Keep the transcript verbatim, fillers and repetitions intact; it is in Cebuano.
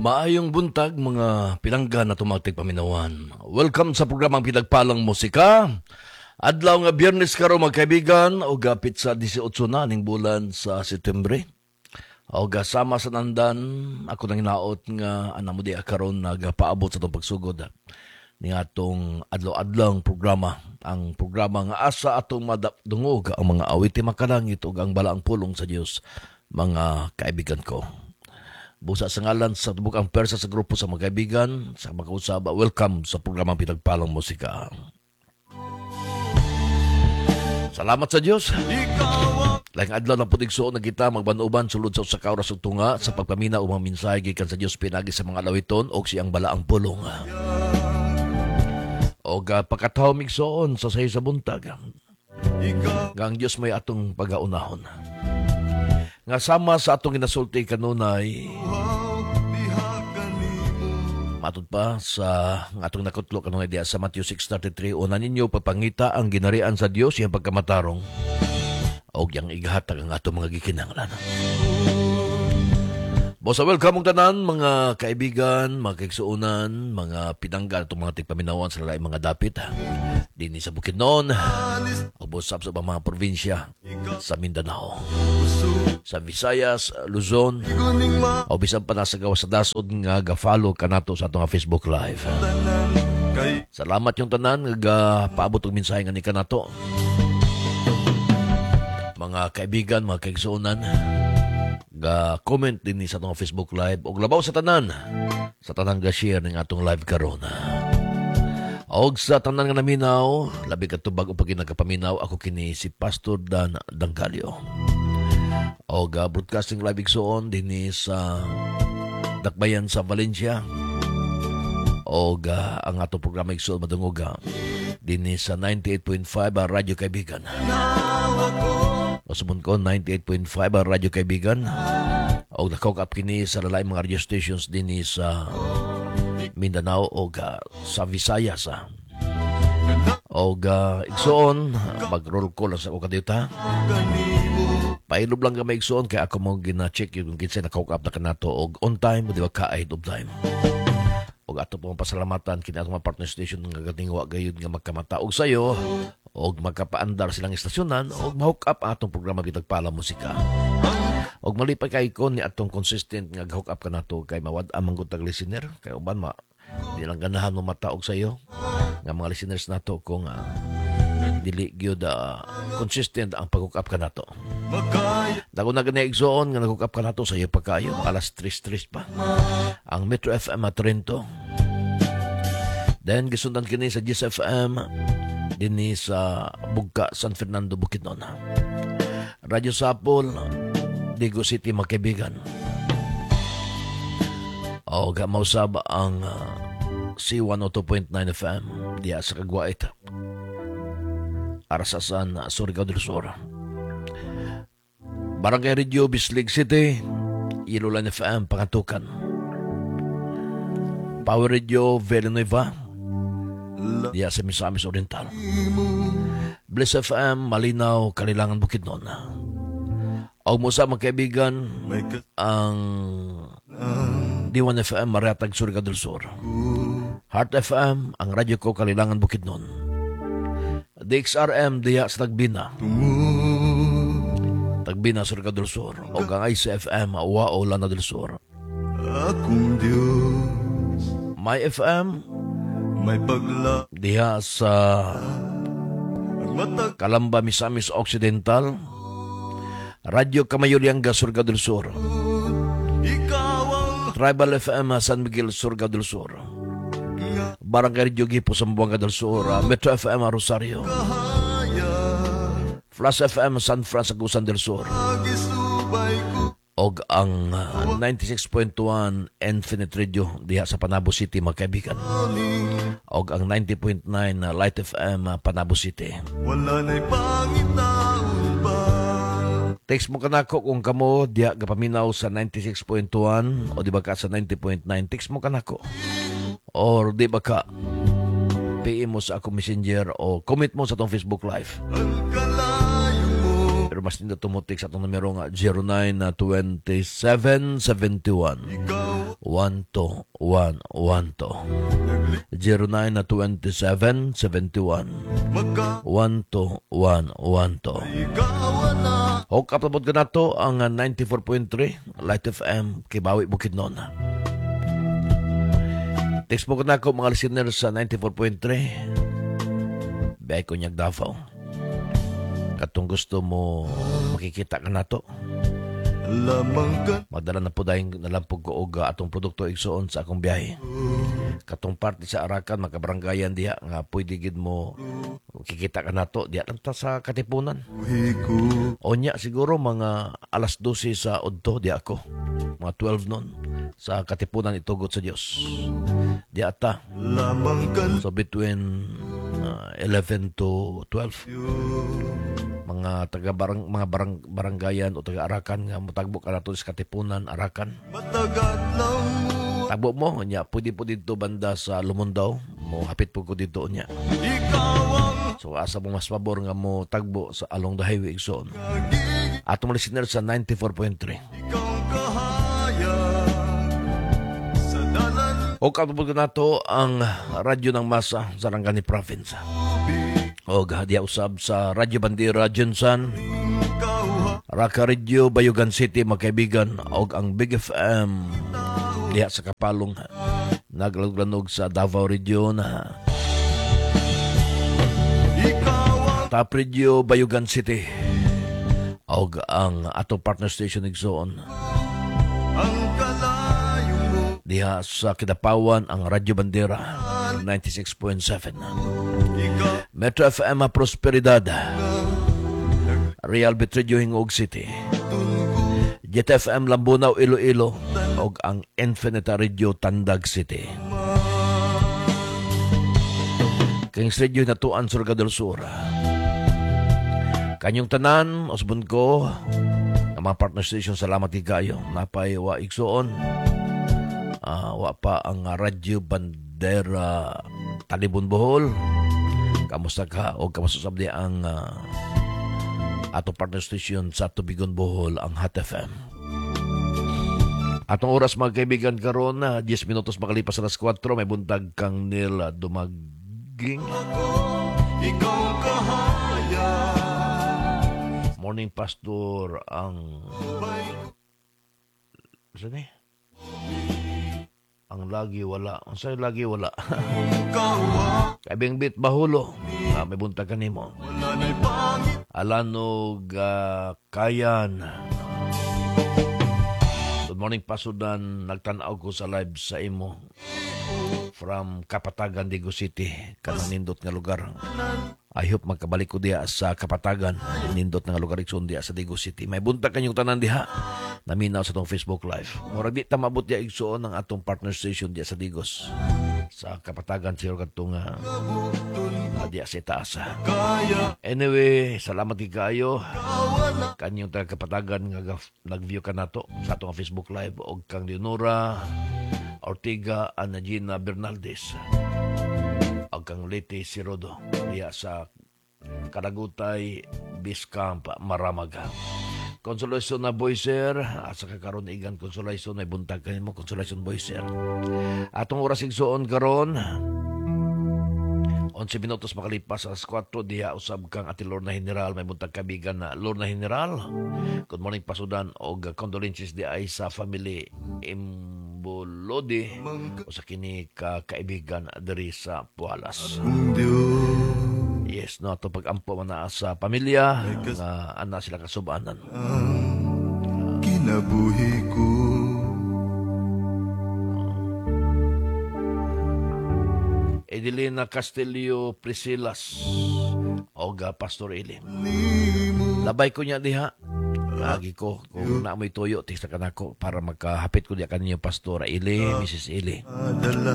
Maayong buntag, mga pinangga na tumatig paminawan. Welcome sa programang Pinagpalang Musika. Adlaw nga Biyernes karon, mga kaibigan, o gapit sa labing walo na ning bulan sa Setyembre. O sama sa nandan, ako nang hinaot nga ana mo di karon nagapaabot sa atong pagsugod ni atong adlaw-adlawng programa, ang programa nga asa atong madungog ang mga awiti makalangit ug ang balaang pulong sa Dios, mga kaibigan ko. Busa sa ngalan sa tubok ang persa sa grupo sa mga kaibigan, sa mga kausaba, welcome sa programang Pinagpalang Musika. Salamat sa Dios. Laing adlaw na pud, igsuon, na kita magbanuban sulod sa usa ka oras ug tunga sa pagpamina o mga mensahe gikan sa Dios pinagi sa mga alawiton o siyang balaang pulong. Og uh, pagkatawom, igsuon, sa sayo sa buntag, nga ang Dios may atong pagaunahon. Nga sama sa atong ginasulti kanunay, matud pa sa nga atong nakutlo kanunay diya sa Matthew six thirty-three, una ninyo pagpangita ang ginarian sa Dios, iyang pagkamatarong, og iyang igahatag ang atong mga gikinahanglan. Bosa, welcome mong tanan, mga kaibigan, mga kaigsuonan, mga pinangga atong mga tigpaminawan sa laing mga dapit dinhi sa Bukidnon, o busab sa ubang mga probinsya sa Mindanao, sa Visayas, Luzon, o bisan pa nasa gawas sa dasod nga ga-follow kanato sa atong Facebook Live. Salamat yung tanan nga gapaabot og mensahe nga ni kanato. Mga kaibigan, mga kaigsuonan, ga comment din ni sa atong Facebook Live og labaw sa tanan sa tanan ga share ning atong live karon. Og sa tanan nga naminaw, labi kadto bag-o pa nagkapaminaw, ako kini si Pastor Dan Danggalyo. Og uh, broadcasting live, igsuon, dinhi sa Dakbayan sa Valencia. Og uh, ang atong programa, igsuon, madungog uh, dinhi sa ninety-eight point five uh, Radyo Kaibigan. Masumon ko, ninety-eight point five ang Radyo Kaibigan. Og naka-hook up kini sa laing mga radio stations dinhi sa Mindanao o uh, sa Visayas. Ah. Og uh, igsuon, mag-roll call lang sa ako kadiyot. Pailob lang kami, igsuon, kay ako mo gina-check yung kinsay naka-hook up na kanato og on time o di ba ka ahead of time. Og ato po ang pasalamatan kini atong mga partner station nga gatingwa gayud nga magkamata og sayo og magkapaandar silang istasyonan og ma-hook up ang atong programa Pinagpala Musika. Og malipay kay ko ni atong consistent nga hook up kanato kay mawad ang manggutag listener kay uban ma di lang ganahan mo mata og sayo nga mga listeners nato kung uh, dili gyud uh, consistent ang pag-hook up kanato. Dako na gani, igsoon, nga nag-hook up kanato sa iyo pagkayo alas tres tres pa. Ang Metro F M at Trento. Then gisundan kini sa G S F M dinhi sa Bugka, San Fernando, Bukidnon. Radyo Sapol, Digos City, mga kaibigan. O mausab ang uh, C one oh two point nine F M diya sa Kagwait, Arasasan, Surigao del Sur. Barangay Radio, Bislig City, Ilolan F M, Pangantucan. Power Radio, Villanueva, diya sa Misamis Oriental. Bliss F M, Malinaw, Kalilangan, Bukidnon. Og mo sa mga kaibigan, ang D one F M, Mariatag, Surigao del Sur. Heart F M, ang radyo ko, Kalilangan, Bukidnon. D X R M, diya sa Tagbina. Tagbina, Surigao del Sur. O ang I C F M, Wao, Lanao del Sur. Akong Diyos. My F M, may pagla diha sa ang matag Calamba, Misamis Occidental. Radyo Kamayulianga, Surigao del Sur. Ikaw ang Tribal F M, San Miguel, Surigao del Sur. Barangay Radio Gipo, Zamboanga del Sur. Metro F M, Rosario. Kahayag. Flash F M, San Fran, Agusan del Sur. Gisubay ko. Og ang uh, ninety-six point one Infinite Radio diha sa Panabo City, mga kaibigan. Og ang ninety point nine uh, Light F M, uh, Panabo City. Wala na'y pangitaon pa. Text mo kanako kung kamo diha gapaminaw sa ninety-six point one o di ba ka sa ninety point nine. Text mo kanako. Or di ba ka P M mo sa akong Messenger o comment mo sa atong Facebook Live. Ang kalayo mo. Pero mas nindot mo text sa atong numero nga zero nine two seven seven one Ikaw. one two one one two. zero nine two seven seven one Magka one two one one two. Ikaw na. Hook up na pod kanato ang ninety-four point three Light F M Kibawi, Bukidnon. Text mo ko na ako, mga listeners sa ninety-four point three. Biyahe ko niyag Davao. Katong gusto mo makikita ka nato. Lamang ka. Magdala na po dahil nalampog ko og atong produkto, igsoon, sa akong biyahe. Katong parte sa Arakan, makabaranggayan diha nga pwede gid mo kikita ka nato diha lang ta sa Katipunan. Buhi ko. Onya siguro mga alas dose sa udto di ako. Mga twelve noon sa Katipunan, itugot sa Dios. Di ata. Lamang ka. So between uh, eleven to twelve, mga taga barang mga barang, baranggayan o taga Arakan nga motagbo ka nato sa Katipunan, Arakan. Matagat lang mo. Tagbo mo nya, pwede po dito banda sa Lumundaw, mo hapit po ko dito nya. Ikaw ang So asa mo mas pabor nga mo tagbo sa along the highway, igsoon. Kagig Atong listener sa ninety-four point three. Ikaw ang kahayag sa dalan. O katupod ko nato ang radyo ng masa sa Sarangani Province. O diya usab sa Radyo Bandera Jensan, Ikaw Raka Radio Bayugan City, magkaibigan, og ang Big F M diha sa Kapalong, naglanog sa Davao Region. Ikaw ang Top Radio Bayugan City og ang atong partner station, igsoon, Ang kalayo mo. Diha sa Kidapawan, ang Radyo Bandera ninety-six point seven. Ikaw Metro F M Prosperidad, Real Bit Radio Gingoog City, J T F M Lambunao, Iloilo ug ang Infinita Radio Tandag City. Kings Radio Natuan, Surigao del Sur. Kanyong tanan, usbon ko, ang mga partner station, salamat di kayo. Napay wa, igsoon. Ah, wa pa ang Radyo Bandera Talibon, Bohol. Kamusta ka? O kamusta sabdi ang ah, ato partner station sa Tubigon, Bohol, ang Hot F M. Atong oras, mga kaibigan, karon na diyes minutos makalipas alas kuwatro, may buntag kang Neil Dumaging. Ikaw ang kahayag. Morning, Pastor, ang saan eh? Ang lagi wala. Ang sa'yo lagi wala. Ikaw ang Kaibing Bit Bahulo. Ah, may buntag kanimo. Wala na'y pangit. Alanog ah, Kayan. Good morning, Pasudan. Nagtanaw ko sa live sa imo. From Kapatagan, Digos City. Kanang nindot nga lugar. I hope magkabalik ko diha sa Kapatagan. Nindot nga lugar, igsoon, diha sa Digos City. May buntag kanyong tanan diha. Naminaw sa atong Facebook Live. Murag di ta maabot diha, igsoon, ang atong partner station diha sa Digos. Sa Kapatagan siguro kadtong uh, diha sa itaas. Kaya Anyway, salamat kay kayo wala kanyong taga Kapatagan nga gaf- nag-view ka nato sa atong Facebook Live og kang Leonora Ortega, Ana Gina Bernaldez og kang Leti Sirodo diha sa Karagutay Biscamp, Maramaga. Consolation na Boyser, asa ka karon, igan Consolation? Ay buntag kanimo, Consolation Boyser. Atong oras, igsoon, karon onse minutos makalipas alas kuwatro. Diha usab kang Ate Lorna General, may buntag kabigan na Lorna General. Good morning, Pasudan, og condolences di ay sa family Imbolodi usa kini ka kaibigan diri sa Pualas. Kung Diyos Yes, no, ato pag-ampo man naa sa pamilya nga ana sila kasubanan. Ang kinabuhi ko. Edelina Castillo Priscilas og uh, Pastor Eli. Nimo. Labay ko niya diha. Lagi ko kung na mo'y tuyo, tista ka nako para magkahapit ko diha kaninyo, Pastor Eli, Missus Eli. Adala.